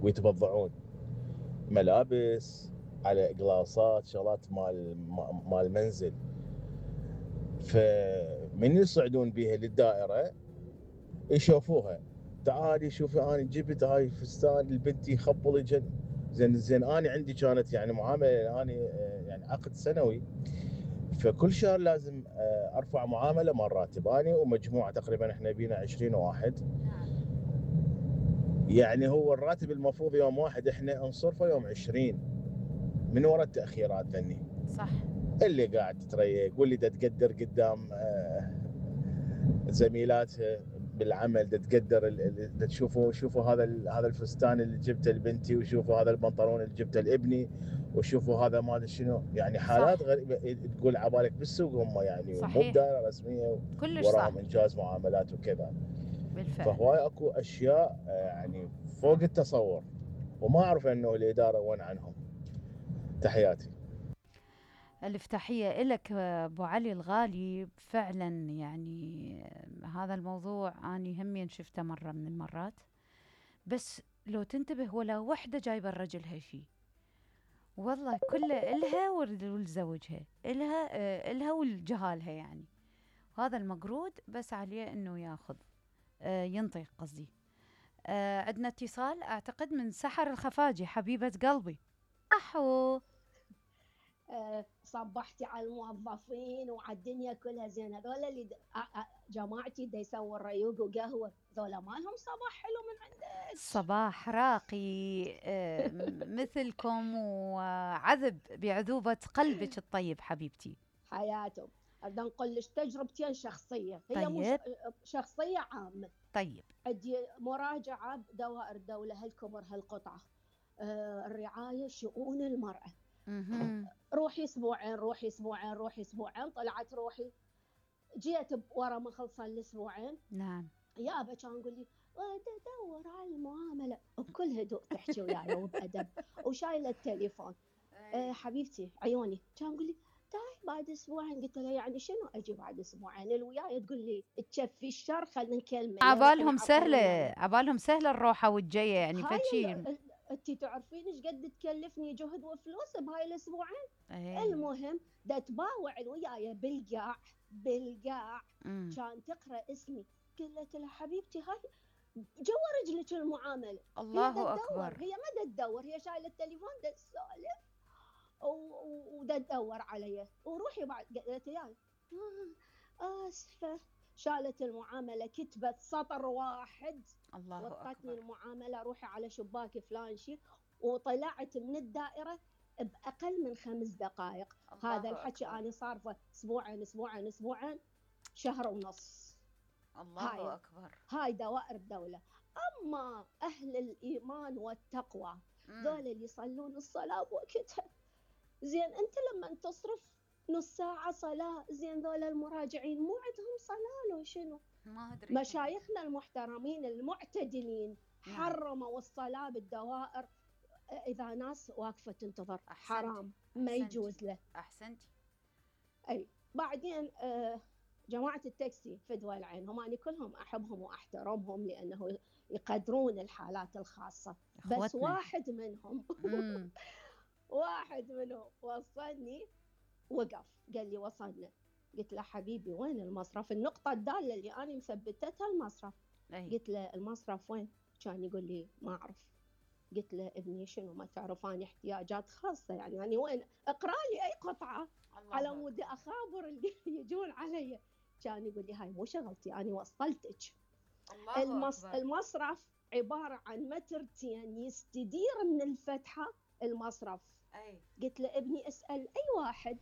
ويتبضعون ملابس على قلاصات شغلات مال منزل. فمن يصعدون بيها للدائرة يشوفوها، تعالي شوفي انا جبت هاي فستان لبنتي خبل جن. زين انا عندي كانت يعني معامله، انا يعني عقد سنوي، فكل شهر لازم ارفع معامله مال راتب، انا ومجموعه تقريبا احنا بينا 20 واحد. يعني هو الراتب المفروض يوم واحد، احنا نصرفه يوم 20 من وراء التاخيرات ذني. صح. اللي قاعد تتريق واللي دا تقدر قدام زميلاتها بالعمل، دا تقدر، دا شوفوا هذا الفستان اللي جبته لبنتي، وشوفوا هذا البنطلون اللي جبته لابني، وشوفوا هذا ما ادري شنو. يعني حالات غريبه تقول عبالك بالسوق هم يعني مو بدائره رسميه وراهم انجاز معاملات وكذا. بالفعل. فهواي اكو اشياء يعني فوق التصور، وما اعرف انه الاداره وين عنهم. تحياتي. ألف تحية إلك أبو علي الغالي. فعلا يعني هذا الموضوع أني همين شفته مرة من المرات، بس لو تنتبه ولا وحدة جايبة الرجل هالشي، والله كله إلها ولزوجها، إلها ولجهالها. يعني هذا المقرود بس عليه إنه ياخذ ينطي قصدي. عندنا اتصال أعتقد من سحر الخفاجي، حبيبة قلبي. أحو صبحتي على الموظفين وعلى الدنيا كلها. زين هذول اللي جماعتي دا يسووا الريوق وقهوه، ذولا ما لهم صباح حلو من عندك؟ صباح راقي مثلكم وعذب بعذوبة قلبك الطيب حبيبتي. حياتهم. بدنا نقول لك تجربتين شخصيه، هي طيب. مش شخصيه عامه. طيب. عندي مراجعه بدوائر الدوله هالكبر هالقطعه، الرعايه شؤون المراه. روحي اسبوعين، طلعت روحي، جيت ورا ما خلص الاسبوعين. نعم. يابا كان يقول لي تدور على المعامله بكل هدوء، تحكي وياي وبادب وشايله التليفون. حبيبتي عيوني، كان يقول لي تعي بعد اسبوعين. قلت له يعني شنو اجي بعد اسبوعين؟ الوياي تقول لي تشفي الشر، خلينا نكلمه. عبالهم سهله الروحه والجايه يعني فشي. انتي تعرفين ايش قد تكلفني جهد وفلوس بهاي الاسبوعين؟ المهم دا تباوع وياي بالقاع كان تقرا اسمي. قلت لها حبيبتي هاي جوا رجلك المعامله. الله اكبر. هي ما دا تدور، هي شايله التليفون دا تسولف ودا تدور علي. وروحي بعد قالت لي اسفه، شالت المعامله، كتبت سطر واحد. الله أكبر. وطتني المعامله، روحي على شباك فلان شي، وطلعت من الدائره باقل من 5 دقائق. هذا الحكي انا صارفه اسبوعين شهر ونص. الله اكبر. هاي دوائر الدوله. اما اهل الايمان والتقوى ذول اللي يصلون الصلاه بوقتها، زين انت لما تصرف نص ساعه صلاه، زين ذول المراجعين مو عندهم صلاه لو شنو؟ ما ادري. مشايخنا المحترمين المعتدلين حرموا الصلاه بالدوائر اذا ناس واقفه تنتظر. حرام، ما يجوز له. احسنتي. اي بعدين جماعه التاكسي في دول العين، هم أنا كلهم احبهم واحترمهم لانه يقدرون الحالات الخاصه. بس واحد منهم واحد منهم وصلني، وقف قال لي وصلنا. قلت له حبيبي وين المصرف؟ النقطه الداله اللي انا مثبتتها المصرف. قلت له المصرف وين؟ كان يقول لي ما اعرف. قلت له ابني شنو ما تعرف اني احتياجات خاصه، يعني وين؟ اقرا لي اي قطعه على مود اخابر اللي يجون علي. كان يقول لي هاي مو شغلتي، انا وصلتك. المصرف عباره عن مترتين يستدير من الفتحه المصرف. قلت له ابني اسال اي واحد.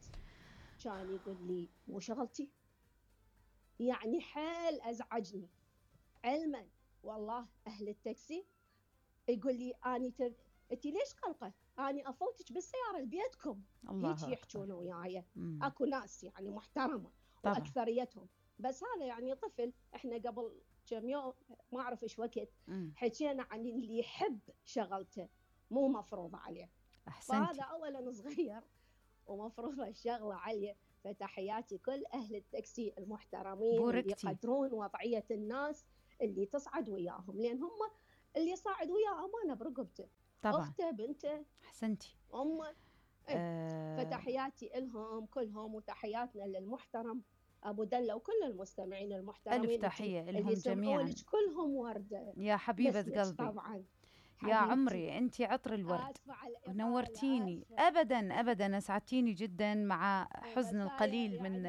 كان يقول لي مو شغلتي. يعني حيل ازعجني. علما والله اهل التاكسي يقول لي انت ليش قلقه؟ اني افوتك بالسياره لبيتكم. هيك يحجون وياي. اكو ناس يعني محترمه طبعا. واكثريتهم. بس هذا يعني طفل. احنا قبل كم يوم ما اعرف ايش وقت حكينا عن اللي يحب شغلته مو مفروضه عليه. فهذا اولا صغير ومفروضه الشغله عليه. فتحياتي كل اهل التاكسي المحترمين اللي يقدرون وضعيه الناس اللي تصعد وياهم، لان هم اللي يصعد وياه امانه برقبته، طبعا اخته بنته احسنتي. امه. فتحياتي لهم كلهم، وتحياتنا للمحترم ابو دله وكل المستمعين المحترمين. الف تحيه لهم اللي جميعا. يسمعونك كلهم ورده يا حبيبه قلبي طبعا يا عمري، انت عطر الورد ونورتيني. ابدا ابدا اسعدتيني جدا مع حزن القليل يعني من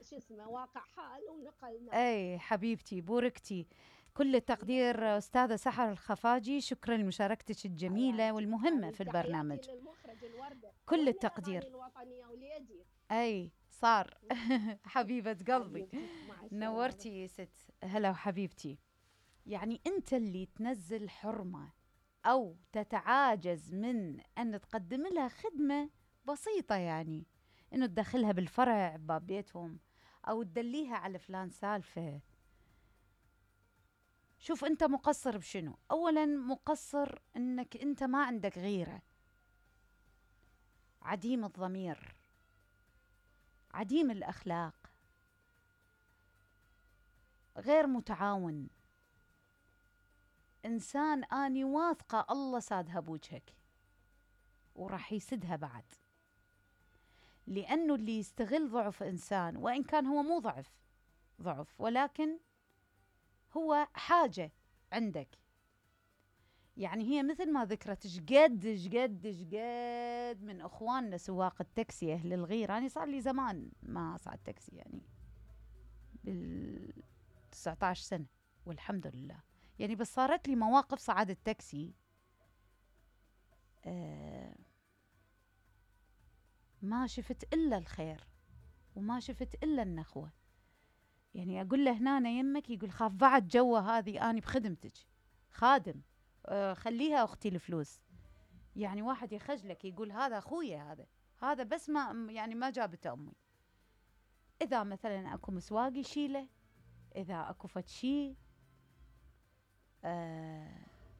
شو اسمه واقع حال ونقلنا. اي حبيبتي بوركتي. كل التقدير استاذه سحر الخفاجي، شكرا لمشاركتك الجميله والمهمه في البرنامج. كل التقدير. اي صار حبيبه قلبي نورتي يا ست. هلا وحبيبتي. يعني انت اللي تنزل حرمه او تتعاجز من ان تقدم لها خدمه بسيطه، يعني انه تدخلها بالفرع باب بيتهم او تدليها على فلان سالفه. شوف انت مقصر بشنو؟ اولا مقصر انك انت ما عندك غيره، عديم الضمير، عديم الاخلاق، غير متعاون، انسان اني واثقه الله سادها بوجهك وراح يسدها بعد. لانه اللي يستغل ضعف انسان، وان كان هو مو ضعف ولكن هو حاجة عندك. يعني هي مثل ما ذكرت شقد من اخواننا سواق التاكسي اهل الغير. انا صار لي زمان ما صعد تاكسي، يعني بال19 سنة والحمد لله. يعني بس صارت لي مواقف صعد التاكسي ما شفت الا الخير وما شفت الا النخوة. يعني اقول له هنا يمك، يقول خاف بعد جوه هذه اني بخدمتك خادم، خليها اختي الفلوس. يعني واحد يخجلك يقول هذا اخويا، هذا بس ما يعني ما جابته امي. اذا مثلا اكو مسواق يشيله، اذا اكو فد شي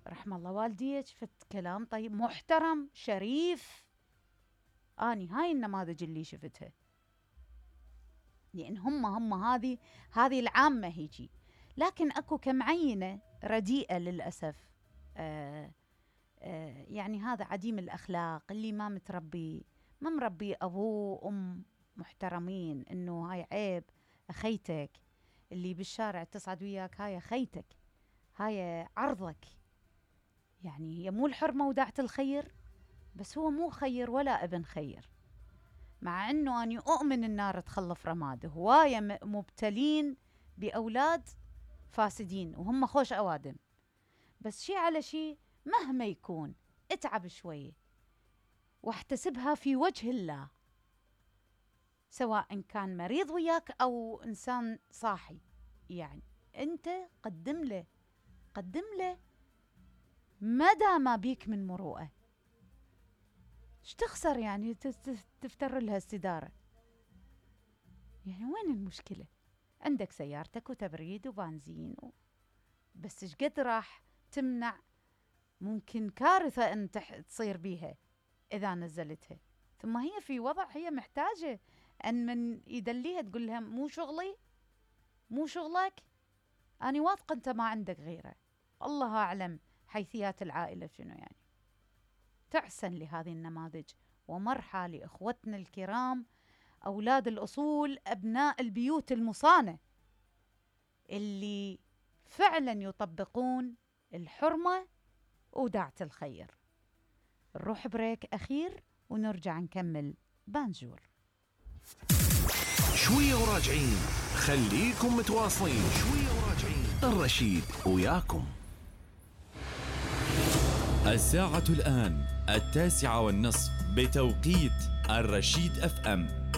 رحم الله والديك فد كلام طيب محترم شريف. اني هاي النماذج اللي شفتها، لأن هم هذه العامة هيجي. لكن أكو كم عينة رديئة للأسف. يعني هذا عديم الأخلاق اللي ما مربي أبوه وأم محترمين، إنه هاي عيب أخيتك. اللي بالشارع تصعد وياك هاي أخيتك، هاي عرضك. يعني هي مو الحرمة وداعة الخير، بس هو مو خير ولا ابن خير. مع أنه أني أؤمن النار تخلف رماد. هواية مبتلين بأولاد فاسدين وهم خوش أوادم، بس شي على شي مهما يكون اتعب شوي واحتسبها في وجه الله، سواء كان مريض وياك أو إنسان صاحي. يعني أنت قدم له مدى ما بيك من مروءة. ايش تخسر يعني تفتر لها استدارة؟ يعني وين المشكلة؟ عندك سيارتك وتبريد وبنزين بس ايش قد راح تمنع ممكن كارثة ان تصير بيها اذا نزلتها. ثم هي في وضع هي محتاجة ان من يدليها تقول لها مو شغلك. انا واثقة انت ما عندك غيره، الله اعلم حيثيات العائلة شنو. يعني تعسن لهذه النماذج ومرحى لإخوتنا الكرام أولاد الأصول، أبناء البيوت المصانة اللي فعلا يطبقون الحرمة وداعة الخير. نروح بريك أخير ونرجع نكمل بانجور. شوية وراجعين، خليكم متواصلين. شوية وراجعين، الرشيد وياكم. الساعة الآن 9:30 بتوقيت الرشيد FM.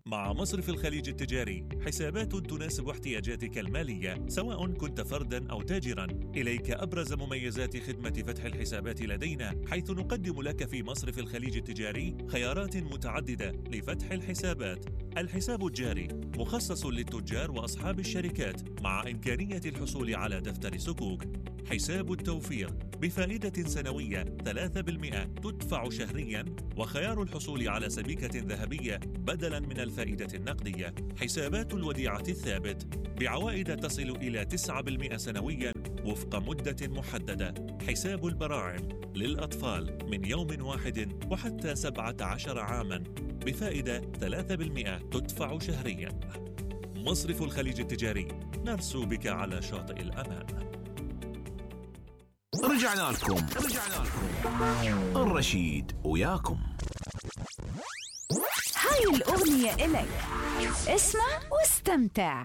مع مصرف الخليج التجاري، حسابات تناسب احتياجاتك المالية سواء كنت فرداً أو تاجراً. إليك أبرز مميزات خدمة فتح الحسابات لدينا، حيث نقدم لك في مصرف الخليج التجاري خيارات متعددة لفتح الحسابات. الحساب الجاري مخصص للتجار وأصحاب الشركات، مع إمكانية الحصول على دفتر سكوك. حساب التوفير بفائدة سنوية 3% تدفع شهريا، وخيار الحصول على سبيكة ذهبية بدلا من الفائدة النقدية. حسابات الوديعة الثابت بعوائد تصل إلى 9% سنويا وفق مدة محددة. حساب البراعم للأطفال من يوم واحد وحتى 17 عاما بفائدة 3% تدفع شهريا. مصرف الخليج التجاري، نرسو بك على شاطئ الأمان. رجعنا لكم الرشيد وياكم. هاي الأغنية إلك، اسمع واستمتع.